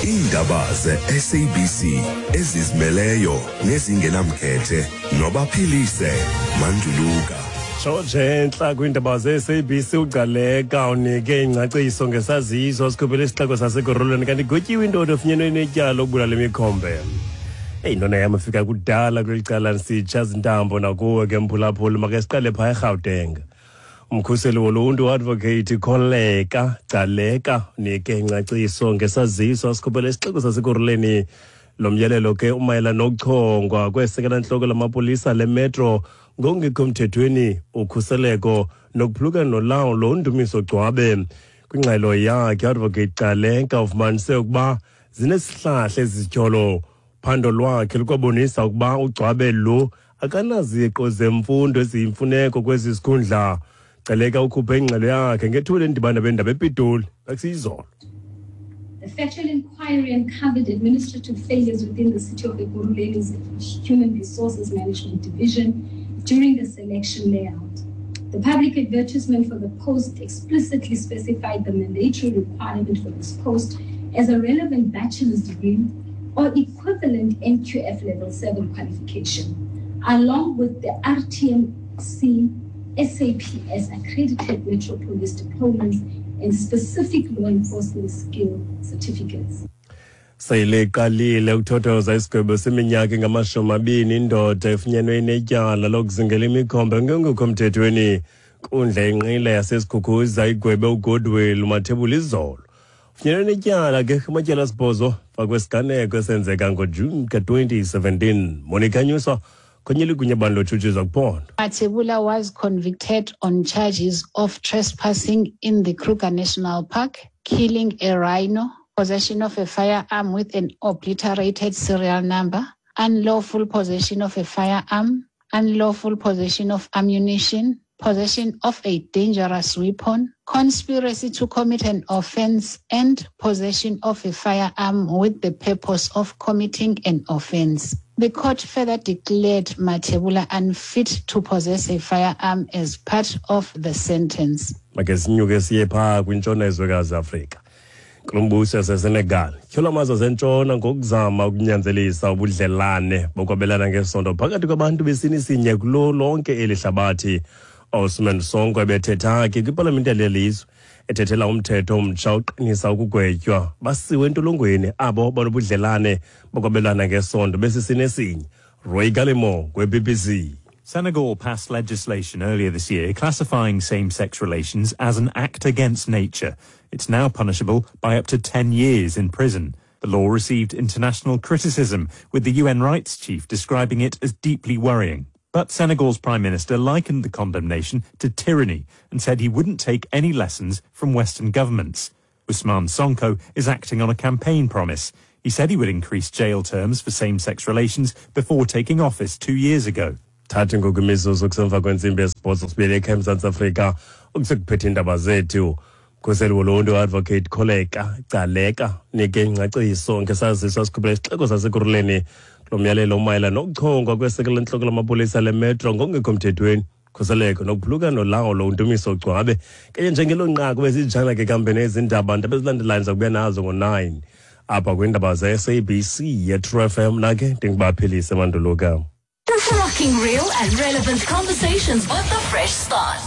Iindaba ze-SABC ezizimeleyo nezingenamkhethe nobaphilise Manduluka. George entla kwiindaba ze-SABC uGcaleka unike ingcaciso ngesaziso sikhuphele isixeko sasekurhuleni kanti igwetyiwe indoda efunyenwe inetyala lokubulala imikhombe. Eyi ntona yam ifika kudala kweli cala ndisitsha zintambo nakuwe ke mphulaphuli make siqale phaa eRhawuteng. Umkhuseli woluntu uadvocate Kholeka Gcaleka unike ingcaciso ngesaziso asikhuphele isixeko sasekurhuleni. Lo myalelo ke umayela nokuchongwa kwesekela-ntloko lamapolisa lemetro ngokungekho mthethweni, ukhuseleko nokuphulukana nolawulo uNdumiso Gcwabe. Kwingxelo yakhe uadvocate Gcaleka ufumanise ukuba zinesihlahla ezi zityholo. Phando lwakhe lukwabonisa ukuba uGcwabe lo akanaziqo zemfundo eziyimfuneko kwezi zikhundla. Gcaleka ukhuphe ingxelo yakhe ngethuba lendibano bendaba ePitoli bekusiyizolo. The factual inquiry uncovered administrative failures within the city of Ekurhuleni's Human Resources Management Division during the selection layout. The public advertisement for the post explicitly specified the mandatory requirement for this post as a relevant bachelor's degree or equivalent NQF level 7 qualification, along with the RTMC SAPS accredited Metro Police diplomas and specific law enforcement skill certificates. Sele iqalile ukuthothoza isigwebo seminyaka engama-20 indoda efunyenwe inetyala lokuzingela imikhombe ngengekho mthethweni. Nkundla yenqila yaseSikhukhuza igwebe uGoodwill Mathebula izolo. Funyenwe netyala ke kumatyala asibhozo fakwesiganeko esenzeka ngoJuni ka-2017. Monica Nyuswa khonye ligunya bani lotshutshiso kuphondo. Mathebula was convicted on charges of trespassing in the Kruger National Park, killing a rhino, possession of a firearm with an obliterated serial number, unlawful possession of a firearm, unlawful possession of ammunition, possession of a dangerous weapon, conspiracy to commit an offense, and possession of a firearm with the purpose of committing an offense. The court further declared Mathebula unfit to possess a firearm as part of the sentence. Make sinyuke siye phaa kwintshona yezwekazi Afrika. Nkulumbuso yaseSenegal tyhola amazwe asentshona ngokuzama ukunyanzelisa ubudlelane bokwabelana ngesondo phakathi kwabantu besini sinye kulo lonke eli hlabathi. Ousmane Sonko ebethetha ke kwipalamente yaleli lizwe ethethela umthetho omtsha oqinisa ukugwetywa basiwe entolongweni abo banobudlelane bokwabelana ngesondo besisini esinye. Roy Gallimore kwe-BBC. Senegal passed legislation earlier this year classifying same-sex relations as an act against nature. It's now punishable by up to 10 years in prison. The law received international criticism, with the UN rights chief describing it as deeply worrying. But Senegal's prime minister likened the condemnation to tyranny and said he wouldn't take any lessons from Western governments. Ousmane Sonko is acting on a campaign promise. He said he would increase jail terms for same-sex relations before taking office 2 years ago. Thathi ngoku imizuzu kusemva kwentsimbi yesibhozo sibuyele ekhaya eMzantsi Afrika ukusekuphethe iindaba zethu. Mkhuseli woluntu advocate Kholeka Gcaleka nike ingcaciso ngesaziso asikhuphela isixeko sasekurhuleni kulo myalelo umayela nokuchongwa kwesekela lentloko lamapolisa lemetro ngokungekho mthethweni, khuseleko nokuphulukana nolawulo uNdumiso Gcwabe. Kanye njengelo nqaku bezijana ke kambe nezindaba ndaba ezilandelayo ndiza nazo ngo-9 apha kwiindaba ze-SABC ye-True FM. Nake ndingubaphilise Manduluka. Rocking real and relevant conversations with the fresh start.